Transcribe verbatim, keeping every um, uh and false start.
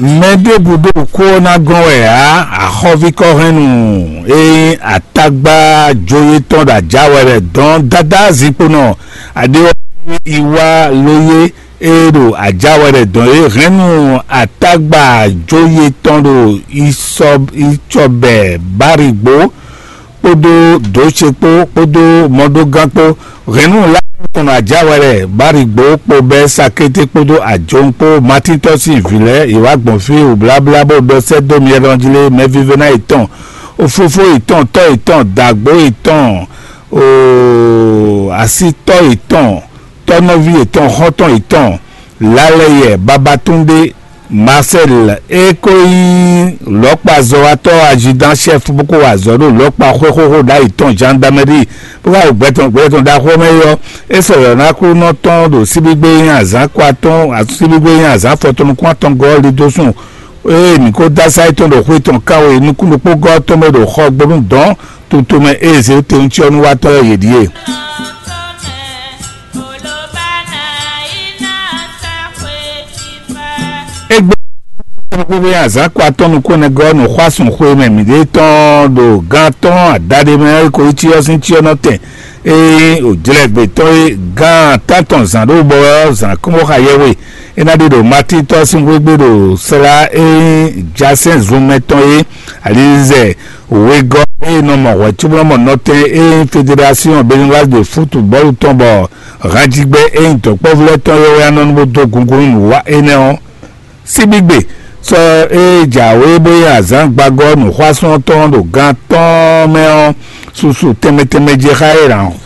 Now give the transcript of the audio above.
Mɛ ɖěbǔ ɖo kó ɔ́ ná gɔ́n wɛ ǎ. Axɔ́ví kɔ́hɛnnú e nyí atagba jóyé tɔn ɖo ajǎ wɛ lɛ́ɛ dɔn dáda zinkponɔ aɖé ɔ́, iwá lóyé e ɖo ajǎ wɛ lɛ́ɛ dɔn é hɛn nú atagba jóyé tɔn ɖo isɔ icɔbɛ bárigbo kpódó dǒ ce kpó kpódó mɔɖógán kpó. Hɛ̌nnu lá tɔn ajá wɛ lɛ Barigbo kpo bɛ́ Sakété kpódó Ajɔn kpó Matíntɔ́ sín vǐ lɛ́ɛ yě wá gbɔn fí wǔbláblá bó ɖɔ sɛ́ dó myɛ ɖɔn jí lé mɛvívɛ́ná yětɔn, fofó yětɔn, tɔ́ yětɔn, dǎgbó yětɔn, asítɔ́ yětɔn, tɔ́nɔví yětɔn, xɔ́ntɔn yětɔn, Lálɛyɛ Babatúndé Marcel e ko nyí lɔ̌kpazɔ́watɔ́ azidan chef bó ko wa azɔ̌ ɖo lɔ̌kpa xwé xóxó ɖ'ayǐ tɔn gendarmerie bó wá ɖo gbɛtɔn gbɛtɔn ɖaxó mɛ é ɔ́, é sɔ́ yɔ̌ ná Aklúnɔ tɔn ɖo síbígbé e nyí azǎn kɔ atɔn síbígbé e nyí azǎn afɔtɔn nukún atɔngɔ́ ɔ́ li dó sùn. Ée mǐ ko dó asá yětɔn ɖo xwé tɔn kán e nukún ɖokpógɔ́ ɔ́ tɔn mɛ ɖo xɔ gbónú dɔ̌n tutu mɛ ée zě tewuncyɔ́núwatɔ́ ɔ́ yě ɖíe. Égbé azǎn kɔ atɔ́ nukún nɛgɔ́ nǔxwásún xwe mɛ mǐɖée tɔn ɖo gan tɔn adaɖé mɛ ko yi cyɔ sín cyɔnɔtɛn e nyí òjlɛ́gbé tɔn e gan tántɔn zǎn ɖó bɔ ɔ́ zǎn kɔn bó xa yɛhwe é ná ɖe ɖo Matín tɔ́ sín xwé gbe ɖo slá e nyí jasɛ́n zunmɛ tɔn é alizɛ wegɔ́ e nɔ mɔ hwɛ̌ cóbó nɔ mɔ nɔtɛn e nyí Fédération Béninoise de football tɔn bɔ hanjigbɛ e nyí dɔ̌nkpɛvú lɛ́ɛ tɔn é wɛ ná nɔ bó dó gungún nú nǔwa énɛ́ ɔ́. Síbígbe sɔ́ e jǎwe bó nyí azǎn gbagɔ́ nǔxwásún tɔn ɖo gan tɔn mɛ ɔ́, susu tɛnmɛ tɛnmɛ jɛ xá é